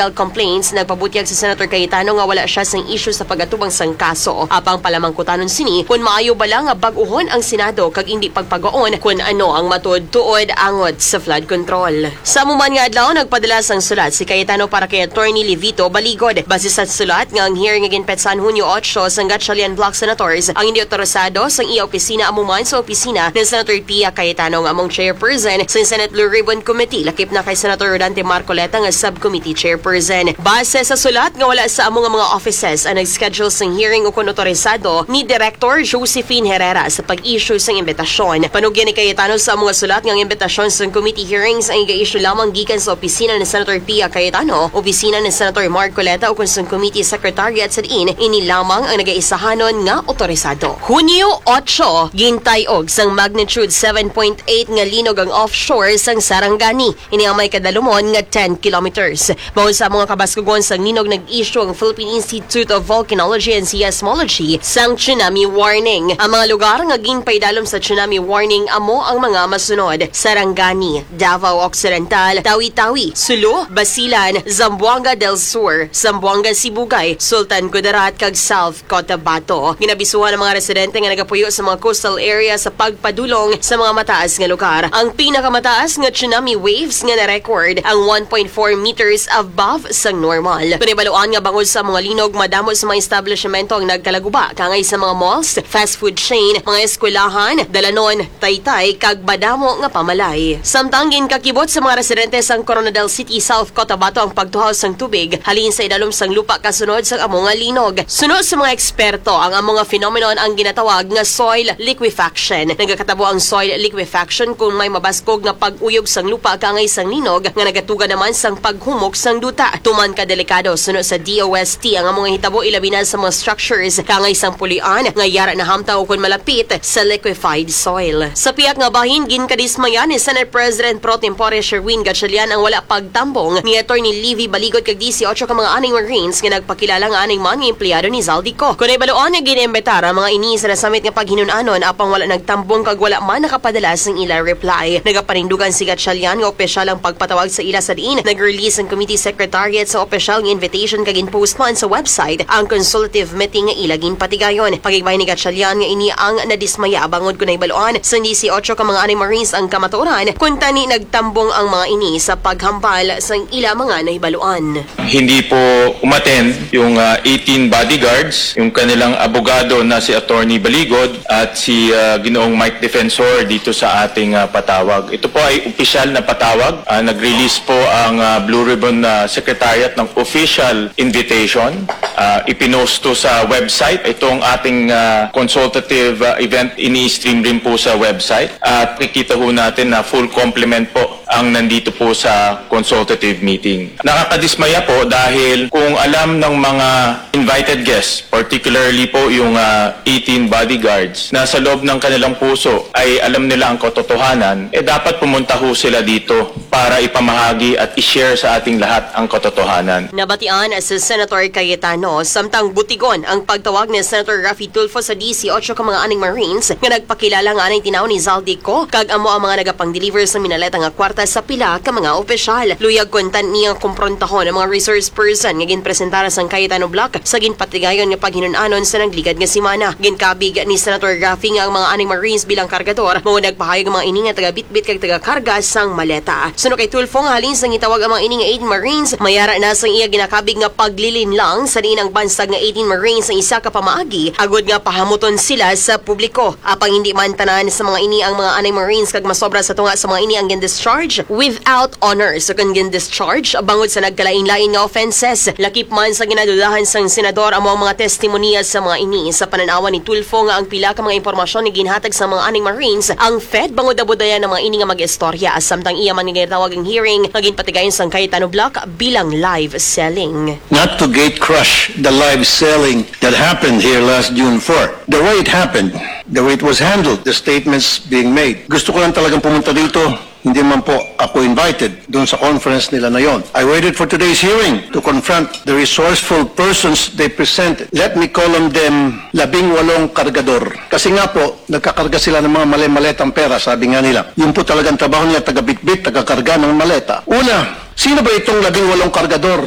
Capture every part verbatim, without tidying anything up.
complaints, nagpabutyag si Senator Cayetano nga wala siya sing issue sa pag-atubang sang kaso. Apang palamangkutanon sini kon maayo bala nga bag-uhon ang Senado kag indi pagpagaon kon ano ang matuod-tuod angot sa flood control. Sa amo man nga adlaw, nagpadala sang sulat si Cayetano para kay Attorney Levito Baligod. Base sa sulat nga ang hearing nga ginpetsahan Hunyo otso sang Gatchalian Block Senators ang hindi otorisado sang iya opisina, amo man sa opisina ni Senator Pia Cayetano nga among chairperson sang Senate Blue Ribbon Committee, lakip na kay Senator Rodante Marcoleta nga subcommittee chairperson. Base sa sulat nga wala sa amo nga mga offices ang nag-schedule sang hearing ukon otorisado ni Director Josephine Herrera sa pag-issue sang imbitasyon. Panugyan ni Cayetano sa amo nga sulat nga ang imbitasyon sang committee hearings ang iga-issue lamang gikan sa opisina ni Senator Pia Cayetano, opisina ni Senator Marcoleta, ukon sang committee secretariat sa diin ini lamang ang nagaisahanon nga otorisado. Hunyo otso, gintay-og sang magnitude seven point eight nga linog ang offshore sang Sarangani. Ini ang may kadalumon nga ten kilometers. Bangod sa mga kabaskugon sang linog, nag-issue ang Philippine Institute of Volcanology and Seismology sang tsunami warning. Ang mga lugar nga ginpaidalom sa tsunami warning amo ang mga masunod: Sarangani, Davao Occidental, Tawi-Tawi, Sulu, Basilan, Zamboanga del Sur, Zamboanga Sibugay, Sultan Kudarat, kag South Cotabato. Ginabisuhan ang mga residente nga nagapuyo sa mga coastal area sa pagpadulong sa mga mataas nga lugar. Ang pinakamataas nga tsunami waves nga na-record ang one point four meters above sang normal. Panibaluan nga bangod sa mga linog, madamo sa mga establishmento ang nagkalaguba, kaangay sa mga malls, fast food chain, mga eskwelahan, dalanon, taytay, kag madamo nga pamalay. Samtang ginkakibot sa mga residente sang Coronadal City, South Cotabato ang pagtuhaw sang tubig halin sa idalom sang lupa kasunod sang amo nga linog. Suno sa mga eksperto, ang amo nga phenomenon ang ginatawag nga soil liquefaction. Nagakatabo ang soil liquefaction kung may mabaskog nga pag-uyog sang lupa kaangay sang linog nga nagatuga naman sang paghumok sang duta. Tuman ka delikado, suno sa D O S T, ang amo nga hitabo, ilabi na sa mga structures kaangay sang pulian nga yara nahamtaw kon malapit sa liquefied soil. Sa pihak nga bahin, ginkadismaya ni Senate President Pro Tempore Sherwin Gatchalian ang wala pagtambong ni Attorney Levy Baligod kag disiotso ka mga anay Marines nga nagpakilala nga anay man nga empleyado ni Zaldy Co. Kon nahibaluan nga gin-imbitar ang mga ini sa nasamit nga paghinun-anon, apang wala nagtambong kag wala man nakapadala sing ila reply. Nagapanindugan si Gatchalian nga opisyal ang pagpatawag sa ila sa diin nag-release ang committee secretariat sa opisyal nga invitation kag gin-post man sa website ang consultative meeting nga ila ginpatigayon. Pakigbahin ni Gatchalian nga ini ang nadismaya bangod kon nahibaluan sang disiotso ka mga anay Marines ang kamatuoran, kuntani nagtambong ang mga ini sa paghambal sang ila mga nahibaluan. Hindi po umattend yung, ah, eighteen bodyguards, yung kanilang abogado na si Attorney Baligod at si, ah, Ginoong Mike Defensor dito sa ating, ah, patawag. Ito po ay opisyal na patawag. Ah, nag-release po ang, ah, Blue Ribbon, ah, Secretariat ng official invitation. Ah, ipinost to sa website. Itong ating, ah, consultative, ah, event, ini-stream rin po sa website. At kikita ho natin na full complement po ang nandito po sa consultative meeting. Nakakadismaya po dahil kung alam ng mga invited guests, particularly po yung, ah, eighteen bodyguards, na sa loob ng kanilang puso ay alam nila ang katotohanan, eh, dapat pumunta ho sila dito para ipamahagi at i-share sa ating lahat ang katotohanan. Nabatian si Senator Cayetano, samtang butigon ang pagtawag ni Senator Raffy Tulfo sa disiotso ka mga anay Marines nga nagpakilala nga anay tinaw ni Zaldy Co, kag amo ang mga nagapang-deliver sa minaleta nga kwarta sa pila ka mga opisyal. Luyag kuntani nga komprontaho ang mga resource person nga ginpresentar sang Cayetano Block sa ginpatigayon nga paghinun-anon sa nagligad nga semana. Ginkabig ni Senator Raffy nga ang mga anay Marines bilang kargador, mao nagpahayag ang mga ini nga taga-bitbit kag taga-karga sang maleta. Suno kay Tulfo, nga halin sang gitawag ang mga ini nga eighteen Marines, mayara na sang iya ginakabig nga paglilinlang sa diin ang bansag nga eighteen Marines ang isa ka pamaagi agod nga pahamuton sila sa publiko. Apang hindi man tanan sa mga ini ang mga anay Marines kag masobra sa tunga sa mga ini ang gin-discharge without honor, so kon gin-discharge bangod sa nagkalain-lain nga offenses. Lakip man sa ginadudahan sang senador, amo ang mga testimonya sa mga ini. Sa panan-awan ni Tulfo nga ang pila ka mga impormasyon nga ginhatag sa mga anay Marines, ang Fed bangod nabudayan ang mga ini nga mag-istorya, samtang iya man nga ginatawag ang hearing nga ginpatigayon sang Cayetano Block bilang live selling. Not to gate crush the live selling that happened here last June four. The way it happened, the way it was handled, the statements being made. Gusto ko lang talagang pumunta dito. Hindi man po ako invited doon sa conference nila na yon. I waited for today's hearing to confront the resourceful persons they presented. Let me call on them, labing walong kargador. Kasi nga po, nagkakarga sila ng mga mali-maletang pera, sabi nga nila. Yun po talagang trabaho nila, taga-bitbit, taga-karga ng maleta. Una, sino ba itong labing walong kargador?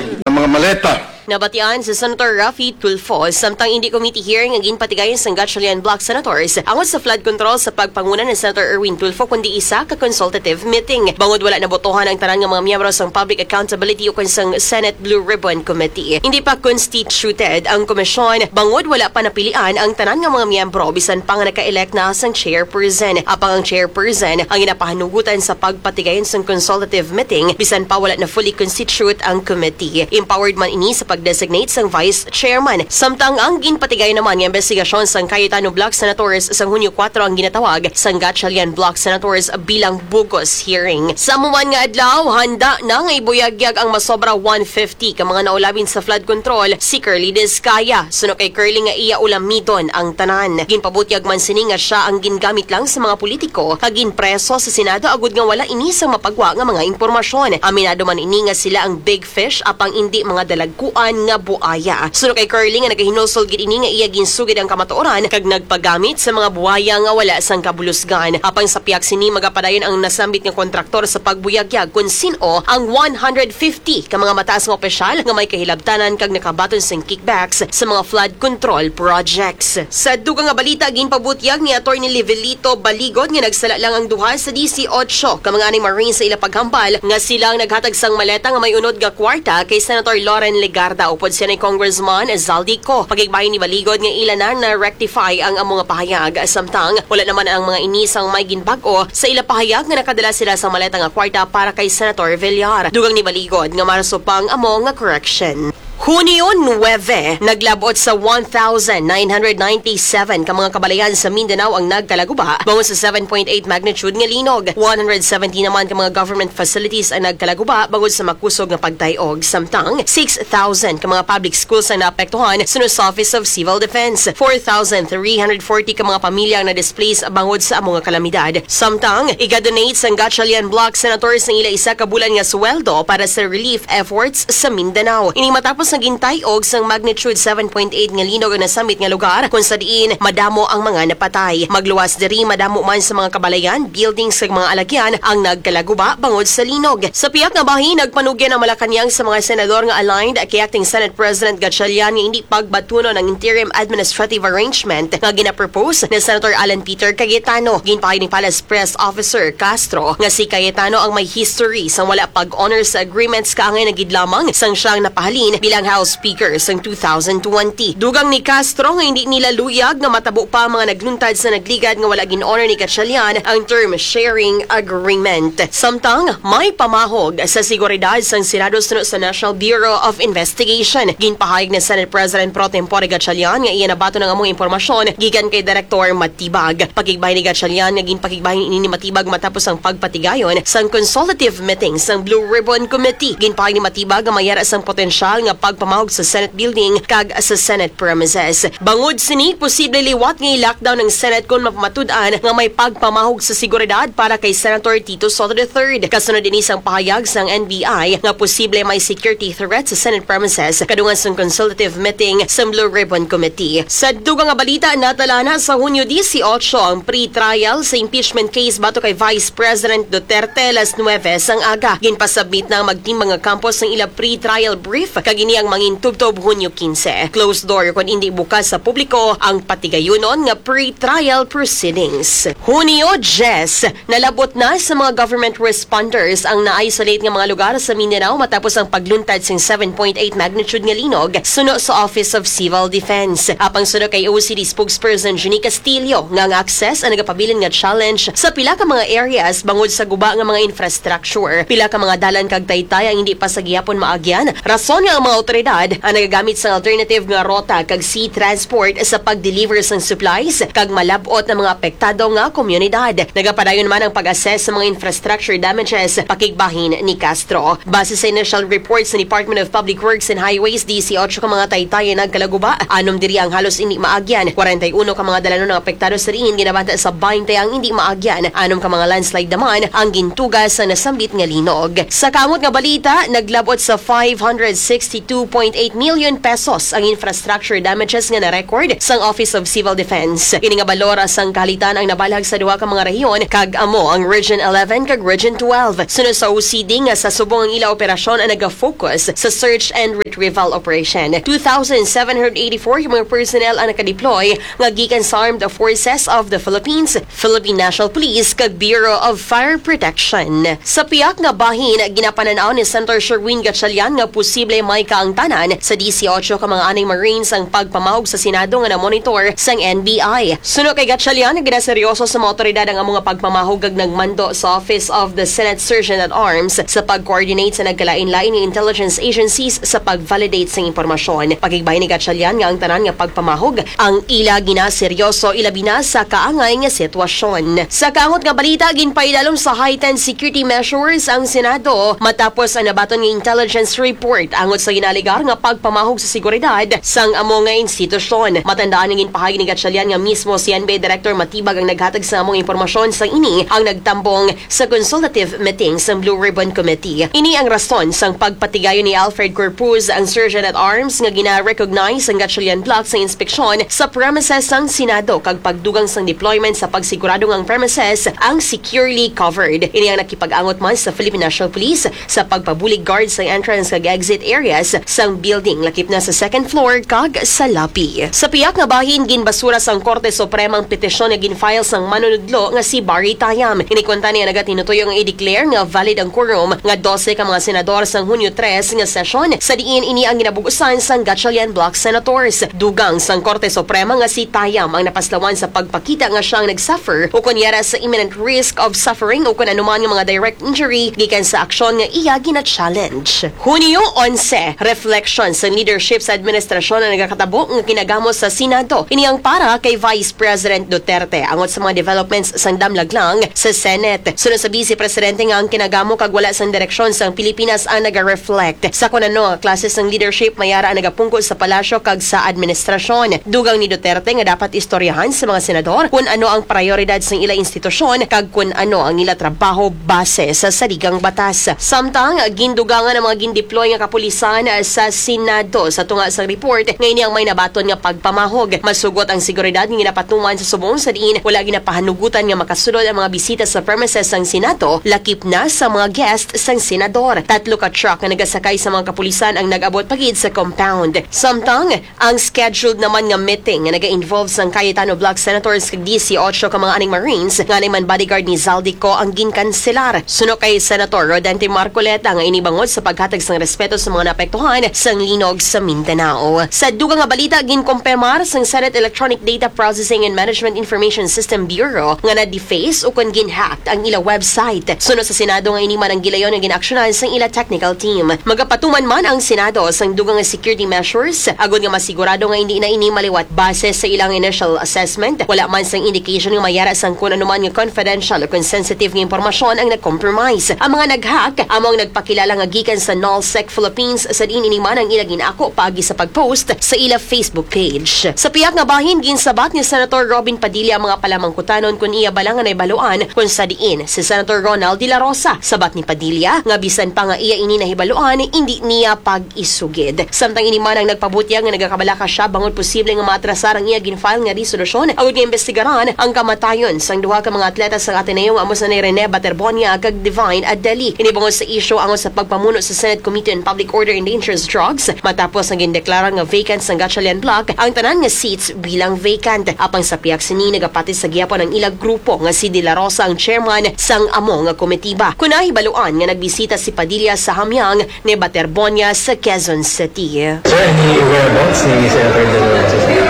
Maleta. Nabatian si Senator Raffy Tulfo samtang indi committee hearing ang ginpatigayon sang Gatchalian Bloc Senators angot sa flood control sa pagpanguna ni Senator Erwin Tulfo, kundi isa ka consultative meeting. Bangod wala nabotohan ang tanan nga mga miyembro sang Public Accountability ukon sang Senate Blue Ribbon Committee. Hindi pa constituted ang komisyon bangod wala pa napilian ang tanan nga mga miyembro, bisan pa nga naka-elect na sang chairperson. Apang ang chairperson ang ginapahanugutan sa pagpatigayon sang consultative meeting, bisan pa wala na fully constitute ang committee. Empowered man ini sa pag-designate sang vice chairman. Samtang ang ginpatigayon naman nga investigasyon sang Cayetano Bloc Senators sang Hunyo kuwatro ang ginatawag sang Gatchalian Bloc Senators bilang bogus hearing. Sa amo man nga adlaw, handa na nga ibuyagyag ang masobra one fifty ka mga naulabin sa flood control si Curly Discaya. Suno kay Curly nga iya ulamidon ang tanan. Ginpabutyag man sini nga siya ang gingamit lang sa mga politiko kag ginpreso sa Senado agud nga wala ini sang mapagwa nga mga impormasyon. Aminado man ini nga sila ang big fish apang indi mga dalagkuan nga buaya. Suno kay Curly nga nagahinulsol gid ini nga iya ginsugid ang kamatuoran kag nagpagamit sa mga buaya nga wala sang kabulusgan. Apang sa pihak sini, magapadayon ang nasambit nga kontraktor sa pagbuyagyag kon sin-o ang one hundred fifty ka mga mataas nga opisyal nga may kahilabtanan kag nakabaton sing kickbacks sa mga flood control projects. Sa dugang nga balita, ginpabutyag ni Attorney Livelito Baligod nga nagsala lang ang duha sa disiotso ka mga anay Marines sa ila paghambal nga sila ang naghatag sang maleta nga may unod nga kwarta kay Senator Loren Legarda upod siya ni Congressman Zaldy Co. Pakigbahin ni Baligod nga ila na na-rectify ang amo nga pahayag. Samtang wala naman ang mga ini sang may ginbag-o sa ila pahayag nga nakadala sila sang maleta nga kwarta para kay Senator Villar. Dugang ni Baligod nga maraso pa ang amo nga correction. Hunyo nuebe, naglab-ot sa one thousand nine hundred ninety-seven ka mga kabalayan sa Mindanao ang nagkalaguba bangod sa seven point eight magnitude nga linog. One hundred seventy naman ka mga government facilities ang nagkalaguba bangod sa makusog nga pagtay-og. Samtang, six thousand ka mga public schools ang naapektuhan suno sa Office of Civil Defense. Four thousand three hundred forty ka mga pamilya ang na-displace bangod sa amo nga kalamidad. Samtang, iga-donate sang Gatchalian Bloc Senators ang ila isa ka bulan nga sweldo para sa relief efforts sa Mindanao. Ini matapos nga gintay-og sang magnitude seven point eight nga linog ang nasambit nga lugar, kung sa diin madamo ang mga napatay. Magluwas diri, madamo man sa mga kabalayan, buildings, kag mga alagyan ang nagkalaguba bangod sa linog. Sa pihak nga bahin, nagpanugyan ang Malacañang sa mga senador nga aligned kay Acting Senate President Gatchalian nga hindi pagbatunon ang interim administrative arrangement nga ginapropose ni Senator Alan Peter Cayetano. Ginpahayag ni Palace Press Officer Castro nga si Cayetano ang may history sang wala pag-honor sa agreements, kaangay na gid lamang sang siya ang napahalin bilang House Speaker sang two thousand twenty. Dugang ni Castro nga hindi nila luyag nga matabo pa ang mga nagluntad sa nagligad nga wala gin-honor ni Gatchalian ang term sharing agreement. Samtang may pamahog sa seguridad sang Senado suno sa National Bureau of Investigation, ginpahayag ni Senate President Pro Tempore Gatchalian nga iya nabaton ang among impormasyon gikan kay Director Matibag. Pakigbahin ni Gatchalian nga ginpakigbahin ini ni Matibag matapos ang pagpatigayon sang consultative meeting sang Blue Ribbon Committee. Ginpahayag ni Matibag nga may ara sang potensyal nga pagpamahog sa Senate building kag sa Senate premises. Bangod sini, posible liwat nga i-lockdown ang Senate kon mapamatud-an nga may pagpamahog sa seguridad para kay Senator Tito Soto the third. Kasunod ini sang pahayag sang N B I nga posible may security threat sa Senate premises kadungan sang consultative meeting sang Blue Ribbon Committee. Sa dugang nga balita, natalana sa Hunyo dieciocho ang pre-trial sa impeachment case batok kay Vice President Duterte alas nuwebe sang aga. Ginpasubmit na ang magtimbang nga kampo sang ila pre-trial brief, kag ini ang mangintubtob Hunyo quince. Closed door kon indi bukas sa publiko ang patigayunon nga pre-trial proceedings. Hunyo diyes, nalab-ot na sa mga government responders ang na-isolate nga mga lugar sa Mindanao matapos ang pagluntad sing seven point eight magnitude nga linog suno sa Office of Civil Defense. Apang suno kay O C D spokesperson Jeannie Castillo nga ang access ang nagapabilin nga challenge sa pila ka mga areas bangod sa guba nga mga infrastructure. Pila ka mga dalan kag taytay ang hindi pa sa gihapon maagyan, rason nga ang mga awtoridad ang nagagamit sang alternative nga rota kag sea transport sa pag-deliver sang supplies kag malab-ot ang mga apektado nga komunidad. Nagapadayon man ang pag-assess sa mga infrastructure damages, pakigbahin ni Castro. Base sa initial report sa Department of Public Works and Highways, dieciocho ka mga taytay ang nagkalaguba, anom diri ang halos indi maagyan, kwarenta y uno ka mga dalanon ang apektado sa diin ginabanta sa baynte ang indi maagyan, anom ka mga landslide naman ang gintuga sa nasambit nga linog. Sa kamot nga balita, naglab-ot sa five hundred sixty-two two point eight million pesos ang infrastructure damages nga na-record sang Office of Civil Defense. Ini nga balor sang kahalitan ang nabalhag sa duha ka mga rehiyon, kag amo ang Region eleven kag Region twelve. Sunod sa O C D nga sa subong ang ila operasyon ang naga-focus sa search and retrieval operation. Two thousand seven hundred eighty-four yung mga personnel ang nakadeploy nga gikan sa Armed Forces of the Philippines, Philippine National Police, kag Bureau of Fire Protection. Sa piyak nga bahin, ginapanan-aw ni Senator Sherwin Gatchalian nga posible may kaangtanan sa dieciocho ka mga anay Marines ang pagpamahog sa Senado nga namonitor sang N B I. Suno kay Gatchalian, ginaseryoso sa mga awtoridad ang amo nga pagpamahog kag nagmando sa Office of the Senate Sergeant at Arms sa pag-coordinate sa nagkalain-lain nga intelligence agencies sa pag-validate sang impormasyon. Pakigbahin ni Gatchalian nga ang tanan nga pagpamahog ang ila ginaseryoso, ilabi na sa kaangay nga sitwasyon. Sa kaangot nga balita, ginpaidalom sa heightened security measures ang Senado matapos ang nabaton nga intelligence report angot sa ginalegar nga pagpamahog sa seguridad sang amo nga institusyon. Matandaan nga ginpahayag ni Gatchalian nga mismo si N B I Director Matibag ang naghatag sa among impormasyon, sang ini ang nagtambong sa consultative meeting sang Blue Ribbon Committee. Ini ang rason sang pagpatigayon ni Alfred Corpuz, ang Surgeon at Arms, nga gina-recognize ang Gatchalian Block sa inspeksyon sa premises sang Senado kag pagdugang sang deployment sa pagsigurado nga ang premises ang securely covered. Ini ang nakipag-angot man sa Philippine National Police sa pagpabulig guard sa entrance kag exit areas sang building, lakip na sa second floor kag sa lobby. Sa piyak nga bahin, ginbasura sang Korte Suprema ang petisyon nga gin-file sang manunudlo nga si Barry Tayam. Ini kuntani ang nagatinutuyo nga i-declare nga valid ang quorum nga dose ka mga senador sang Hunyo tres nga sesyon, sa diin ini ang ginabug-usan sang Gatchalian Block Senators. Dugang sang Korte Suprema nga si Tayam ang napaslawan sa pagpakita nga siya ang nag-suffer ukon yara sa imminent risk of suffering ukon anuman nga mga direct injury gikan sa aksyon nga iya gina-challenge. Hunyo onse, reflection sa leadership sa administrasyon ang nagakatabo nga kinagamo sa Senado. Ini ang para kay Vice President Duterte angot sa mga developments sang damlaglang sa Senate. Sunod sa Vice Presidente nga ang kinagamo kag wala sang direksyon sang Pilipinas ang naga-reflect sa kun ano nga klase sang leadership mayara ang nagapungko sa palasyo kag sa administrasyon. Dugang ni Duterte nga dapat istoryahan sa mga senador kun ano ang prayoridad sang ila institusyon kag kun ano ang ila trabaho base sa saligang batas. Samtang gindugangan ang mga gindeploy nga kapulisan sa Senado sa tunga sang report nga ini ang may nabaton nga pagpamahog. Masugot ang seguridad nga ginapatuman sa subong sa diin wala ginapahanugutan nga makasulod ang mga bisita sa premises sang Senado, lakip na sa mga guest sang senador. Tatlo ka truck nga nagasakay sa mga kapulisan ang nag-abot pa gid sa compound. Samtang ang scheduled naman nga meeting nga naga-involve sang Cayetano Block Senators kag dieciocho ka mga aning Marines nga man bodyguard ni Zaldy Co ang ginkanselar. Suno kay Senator Rodante Marcoleta nga ini bangod sa paghatag sang respeto sa mga naapektuhan sang linog sa Mindanao. Sa dugang nga balita, ginkumpirmar sang Senate Electronic Data Processing and Management Information System Bureau nga na-deface ukon gin-hack ang ila website. Suno sa Senado nga ini man ang gilayon nga ginaksyonan sang ila technical team. Magapatuman man ang Senado sang dugang nga security measures agod nga masigurado nga hindi na ini maliwat. Base sa ilang initial assessment, wala man sang indication nga mayara sang kun ano man nga confidential o kon sensitive nga impormasyon ang nag-compromise. Ang mga nag-hack amo ang nagpakilala nga gikan sa Nullsec Philippines, sa diin ini man ang ila gin-ako paagi sa pag-post sa ila Facebook page. Sa piyak nga bahin, ginsabat ni Senator Robin Padilla ang mga palamangkutanon kon iya bala nga nahibaluan kon sa diin si Senator Ronald De La Rosa. Sabat ni Padilla nga bisan pa nga iya ini nahibaluan, indi niya pag-isugid. Samtang ini man ang nagpabutyag nga nagakabalaka siya bangod posible nga maatrasar ang iya gin-file nga resolusyon agud nga imbestigaran ang kamatayon sang duha ka mga atleta sang Ateneo nga amo sanay Rene Baterbonia kag Divine Adeli. Ini bangod sa isyu angot sa pagpamuno sa Senate Committee on Public Order and Dangerous Drugs matapos nga gindeklara nga vacant sang Gatchalian Block ang tanan nga seats bilang vacant. Apang sa piyak sini, nagapati sa gihapon ang ila grupo nga si De La Rosa ang chairman sang amo nga komitiba. Kon nahibaluan nga nagbisita si Padilla sa Hamyang ni Baterbonia sa Quezon City. Sir, any whereabouts ni Senator De La Rosa, sir?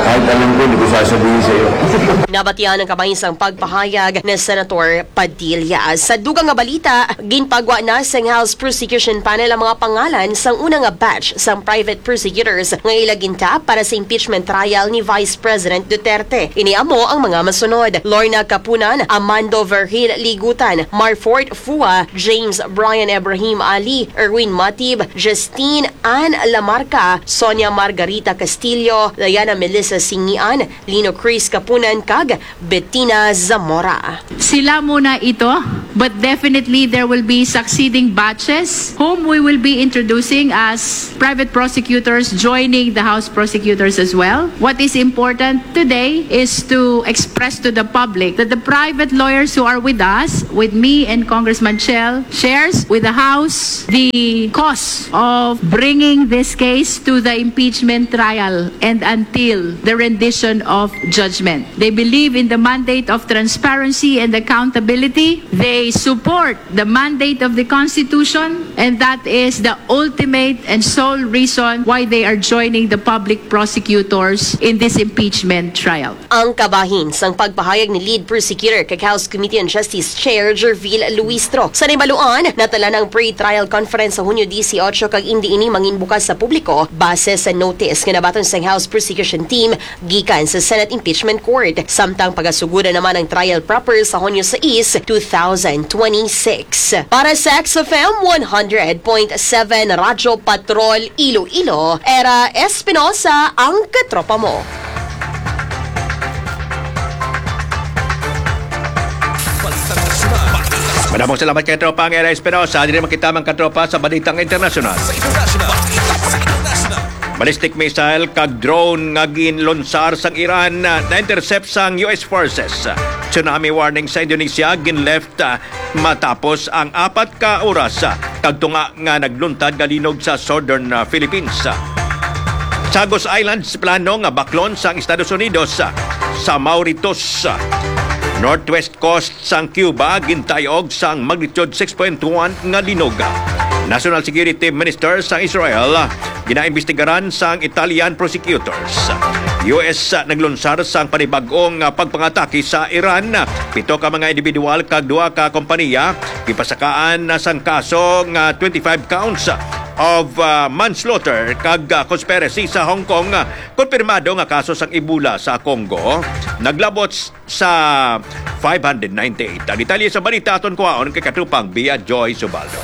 Kahit alam ko, hindi ko sasabihin sa'yo. Nabatian ang kamay sang pagpahayag ni Senator Padilla. Sa dugang nga balita, ginpagwa na sang House Prosecution Panel ang mga pangalan sang una nga batch sang private prosecutors nga ila gintap para sa impeachment trial ni Vice President Duterte. Ini amo ang mga masunod: Lorna Kapunan, Amando Vergil Ligutan, Marfort Fua, James Brian Ibrahim Ali, Erwin Matib, Justine Ann Lamarca, Sonia Margarita Castillo, Diana Melissa Singian, Lino Chris Kapunan, kag Bettina Zamora. Sila muna ito, but definitely there will be succeeding batches whom we will be introducing as private prosecutors joining the House prosecutors as well. What is important today is to express to the public that the private lawyers who are with us, with me and Congressman Chel, shares with the House the cause of bringing this case to the impeachment trial and until the rendition of judgment. They believe in the mandate of transparency and accountability. They support the mandate of the Constitution, and that is the ultimate and sole reason why they are joining the public prosecutors in this impeachment trial. Ang kabahin sang pagpahayag ni Lead Prosecutor kag House Committee on Justice Chair Gerville Luistro. Sa nahibaluan, natala na ang pre-trial conference sa Hunyo disiotso kag indi ini mangin bukas sa publiko base sa notice nga nabaton sang House Prosecution Team gikan sa Senate Impeachment Court. Samtang pagasuguran naman ang trial proper sa Hunyo sais, two thousand twenty-six. Para sa X F M one hundred point seven Radyo Patrol Iloilo, Era Espinosa ang katropa mo. Madamong salamat kay Tropa ang Era Espinosa. Diri man kita, mga katropa, sa balitang internasyonal. Ballistic missile kag drone nga ginlunsar sang Iran, ah, na-intercept sang U S forces. Tsunami warning sa Indonesia, ginleft, ah, matapos ang apat ka oras, ah, kag tunga nga nagluntad nga linog sa southern, ah, Philippines. Chagos Islands, plano nga baklon sang Estados Unidos, ah, sa Mauritius. Northwest coast sang Cuba, gintayog sang magnitude six point one nga linog. National Security Minister sang Israel, ginaimbestigaran sang Italian prosecutors. U S naglunsar sang panibag-ong pagpangatake sa Iran. Pito ka mga individual kag duha ka kompanya gipasakaan na sang kaso nga twenty-five counts of, ah, manslaughter kag, ah, conspiracy sa Hong Kong. Konfirmado nga kaso sang Ebola sa Congo naglabot sa five hundred ninety-eight. Ang detalye sa balita aton kuhaon kay katropang Bia Joy Subaldo.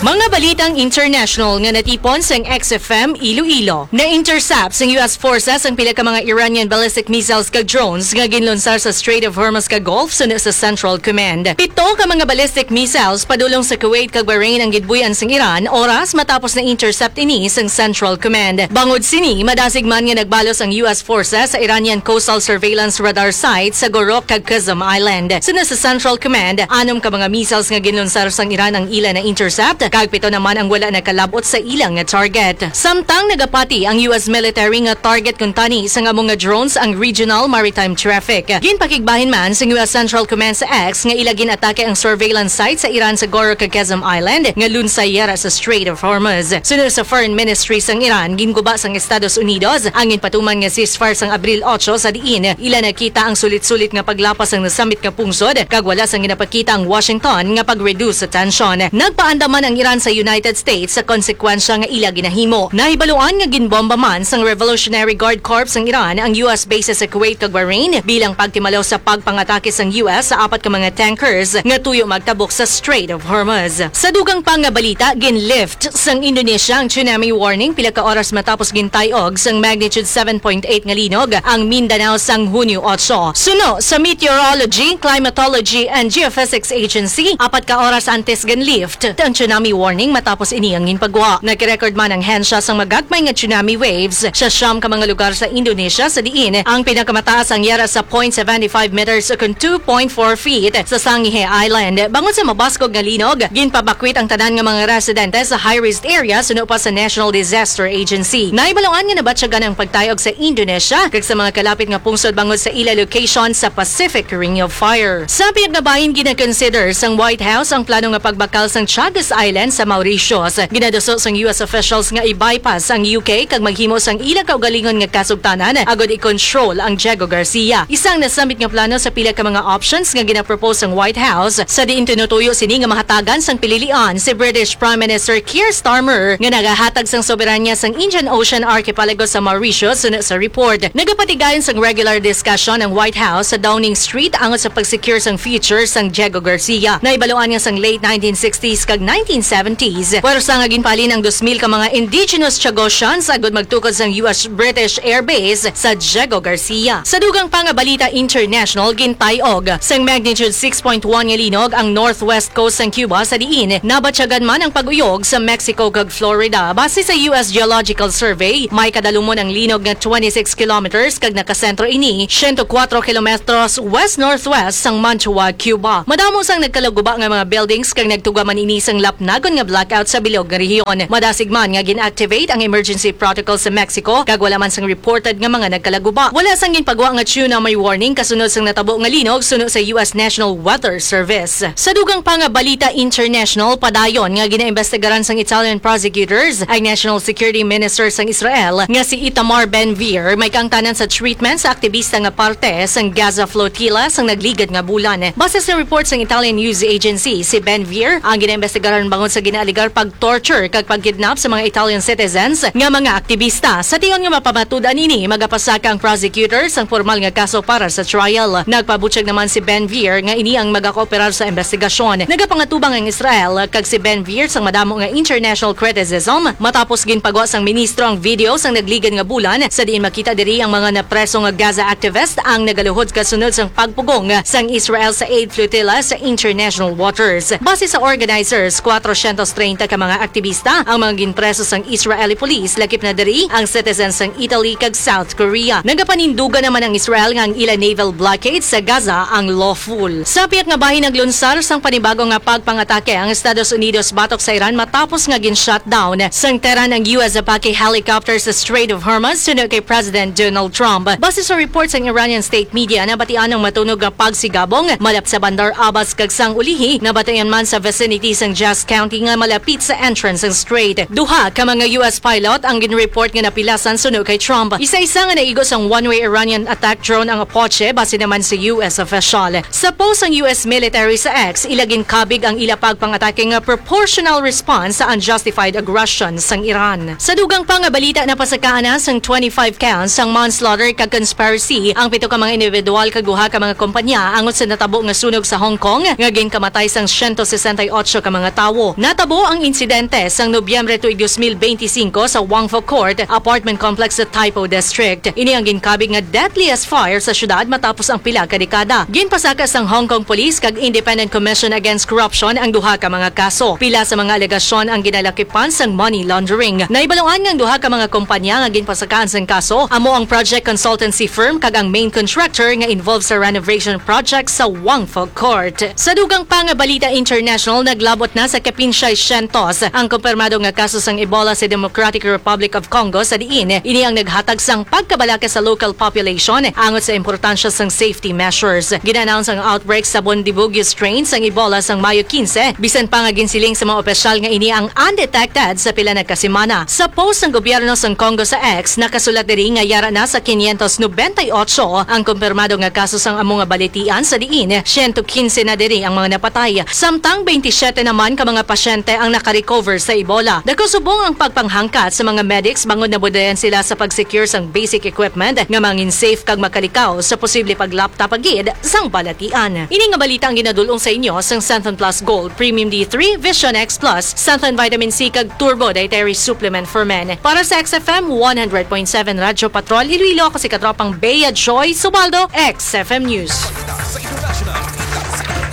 Mga balitang international nga natipon sang X F M Iloilo. Na-intercept sang U S forces ang pila ka mga Iranian ballistic missiles kag drones nga ginlunsar sa Strait of Hormuz kag Gulf suno sa Central Command. Pito ka mga ballistic missiles padulong sa Kuwait kag Bahrain ang ginbuy-an sang Iran oras matapos na-intercept ini sang Central Command. Bangod sini, madasig man nga nagbalos ang U S forces sa Iranian coastal surveillance radar site sa Gorok kag Qeshm Island. Suno sa Central Command, anom ka mga missiles nga ginlunsar sang Iran ang ila na-intercept, kag pito naman ang wala nakalab-ot sa ila nga target. Samtang nagapati ang U S military nga target kuntani sang amo nga drones ang regional maritime traffic. Ginpakigbahin man sang U S Central Command sa X nga ila gin-atake ang surveillance site sa Iran sa Gorok kag Qeshm Island nga lunsay yara sa Strait of Hormuz. Suno sa Foreign Ministry sang Iran, ginguba sang Estados Unidos ang ginpatuman nga ceasefire sang Abril otso, sa diin ila nakita ang sulit-sulit nga paglapas sang nasambit nga pungsod, kag wala sang ginapakita ang Washington nga pag-reduce sa tensyon. Nagpaandam man ang Iran sa United States sa konsekwensya nga ila ginahimo. Nahibaluan nga ginbomba man sang Revolutionary Guard Corps sang Iran ang U S bases sa Kuwait kag Bahrain bilang pagtimalaw sa pagpangatake sang U S sa apat ka mga tankers nga tuyo magtabok sa Strait of Hormuz. Sa dugang pa nga balita, ginlift sang Indonesia ang tsunami warning pila ka oras matapos gintay-og sang magnitude seven point eight nga linog ang Mindanao sang Hunyo otso. Suno sa Meteorology, Climatology, and Geophysics Agency, apat ka oras antes ginlift ang tsunami warning matapos ini ang ginpagwa. Nagrecord man ang hensya sang magagmay nga tsunami waves sa siyam ka mga lugar sa Indonesia, sa diin ang pinakamataas ang yara sa point seven five meters ukon two point four feet sa Sangihe Island. Bangod sa mabaskog nga linog, ginpabakwit ang tanan nga mga residente sa high-risk area suno pa sa National Disaster Agency. Nahibaluan nga nabatyagan ang pagtayog sa Indonesia kag sa mga kalapit nga pungsod bangod sa ila location sa Pacific Ring of Fire. Sa pihak nga bahin, gina-consider sang White House ang plano nga pagbakal sang Chagos Island sa Mauritius. Ginaduso sang U S officials nga i-bypass ang U K kag maghimo sang ila kaugalingon nga kasugtanan agod i-control ang Diego Garcia. Isa ang nasambit nga plano sa pila ka mga options nga ginapropose sang White House, sa diin tinutuyo sini nga mahatagan sang pililian si British Prime Minister Keir Starmer nga nagahatag sang soberanya sang Indian Ocean archipelago sa Mauritius, suno sa report. Nagapatigayon sang regular discussion ang White House sa Downing Street angot sa pag-secure sang future sang Diego Garcia. Nahibaluan nga sang late nineteen sixties kag nineteen seventies. Pwersa nga ginpalin ang dos mil ka mga indigenous Chagosians agud magtukod sang U S British Air Base sa Diego Garcia. Sa dugang pa nga balita international, gintay-og sang magnitude six point one nga linog ang northwest coast sang Cuba, sa diin nabatyagan man ang pag-uyog sa Mexico kag Florida. Base sa U S Geological Survey, may kadalumon ang linog nga twenty-six kilometers kag nakasentro ini siyento kuwatro kilometros west-northwest sang Mantua, Cuba. Madamo sang nagkalaguba nga mga buildings kag nagtuga man ini sang lapnagon nga blackout sa bilog nga rehiyon. Madasig man nga gin-activate ang emergency protocol sa Mexico kag wala man sang reported nga mga nagkalaguba. Wala sang ginpagwa nga tsunami warning kasunod sang natabo nga linog suno sa U S National Weather Service. Sa dugang pa nga balita international, padayon nga ginaimbestigaran sang Italian prosecutors ang National Security Minister sang Israel nga si Itamar Ben-Gvir may kaangtanan sa treatment sa aktibista nga parte sang Gaza flotilla sang nagligad nga bulan. Base sa report sang Italian news agency, si Ben-Gvir ang ginaimbestigaran bangod sa ginaalegar pag-torture kag pagkidnap sa mga Italian citizens nga mga aktibista. Sa tion nga mapamatud-an ini, magapasaka ang prosecutor sang pormal nga kaso para sa trial. Nagpabutyag naman si Ben-Gvir nga ini ang magakooperar sa investigasyon. Nagapangatubang ang Israel kag si Ben-Gvir sang madamo nga international criticism matapos ginpagwa sang ministro ang video sang nagligad nga bulan, sa diin makita diri ang mga napreso nga Gaza activist ang nagaluhod kasunod sang pagpugong sang Israel sa aid flotilla sa international waters. Base sa organizers, kwatrocientos treinta ka mga aktibista ang mga ginpreso sang Israeli police, lakip na diri ang citizens sang Italy kag South Korea. Nagapanindugan naman ang Israel nga ang ila naval blockade sa Gaza ang lawful. Sa pihak nga bahin, naglunsar sang panibago nga pagpangatake ang Estados Unidos batok sa Iran matapos nga gin-shutdown sang Tehran ang U S Apache helicopter sa Strait of Hormuz suno kay President Donald Trump. Base sa report sang Iranian state media, nabatian ang matunog nga pagsigabong malapit sa Bandar Abbas kag sang ulihi nabatian man sa vicinity sang Yazd County nga malapit sa entrance sang strait. Duha ka mga U S pilot ang ginreport nga napilasan suno kay Trump. Isa-isa nga naigo sang one-way Iranian attack drone ang Apache, base naman sa U S official. Sa post sang U S military sa X, ila ginkabig ang ila pagpangatake nga proportional response sa unjustified aggression sang Iran. Sa dugang pa nga balita, napasakaan na sang twenty-five counts sang manslaughter kag conspiracy ang pito ka mga individual kag duha ka mga kompanya angot sa natabo nga sunog sa Hong Kong nga ginkamatay sang siyento sesenta y ocho ka mga tawo. Natabo ang insidente sang Nobyembre tuig dos mil beintisinko sa Wangfu Court apartment complex sa Taipo District. Ini ang ginkabig nga deadliest fire sa syudad matapos ang pila ka dekada. Ginpasaka sang Hong Kong Police kag Independent Commission Against Corruption ang duha ka mga kaso. Pila sa mga alegasyon ang ginalakipan sang money laundering. Nahibaluan nga ang duha ka mga kompanya nga ginpasakaan sang kaso amo ang project consultancy firm kag ang main contractor nga involved sa renovation project sa Wangfu Court. Sa dugang pa nga balita international, naglabot na sa kapin siyay syentos ang kumpirmado nga kaso sang Ebola sa Democratic Republic of Congo, sa diin ini ang naghatag sang pagkabalaka sa local population angot sa importansya sang safety measures. Gin-announce ang outbreak sa Bundibugyo strain sang Ebola sang Mayo quince, bisan pa nga ginsiling sa mga opisyal nga ini ang undetected sa pila na ka semana. Sa post sang gobyerno sang Congo sa X, nakasulat diri nga yara na sa quinientos noventa y ocho ang kumpirmado nga kaso sang amo nga balitian, sa diin siyento quince na diri ang mga napatay. Samtang twenty-seven naman ka mga pasyente ang nakarecover sa Ebola. Dako subong ang pagpanghangkat sa mga medics bangod nabudayan sila sa pag-secure sang basic equipment nga mangin safe kag makalikaw sa posible paglapta pa gid sang balatian. Ini nga balita ang ginadul-ong sa inyo sang Xanthan Plus Gold, Premium D three, Vision X Plus, Xanthan Vitamin C kag Turbo Dietary Supplement for Men. Para sa X F M one hundred point seven Radyo Patrol Iloilo, ako si Katropang Bea Joy Subaldo, X F M News.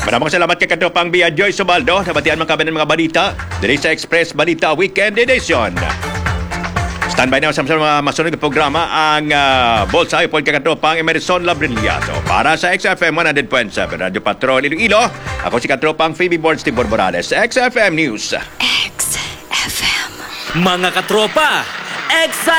Maraming salamat kay Katropang Bea Joy Subaldo. Nabatian man kami ng mga balita diri sa Express Balita Weekend Edition. Standby na sa mga masunod na programa ang uh, Bolsa Ipon kay Katropang Emerson Labrillado para sa X F M one hundred point seven Radyo Patrol Iloilo. Ako si Katropang Phoebe Borns Tibor Morales, X F M News. X F M. Mga katropa, excited!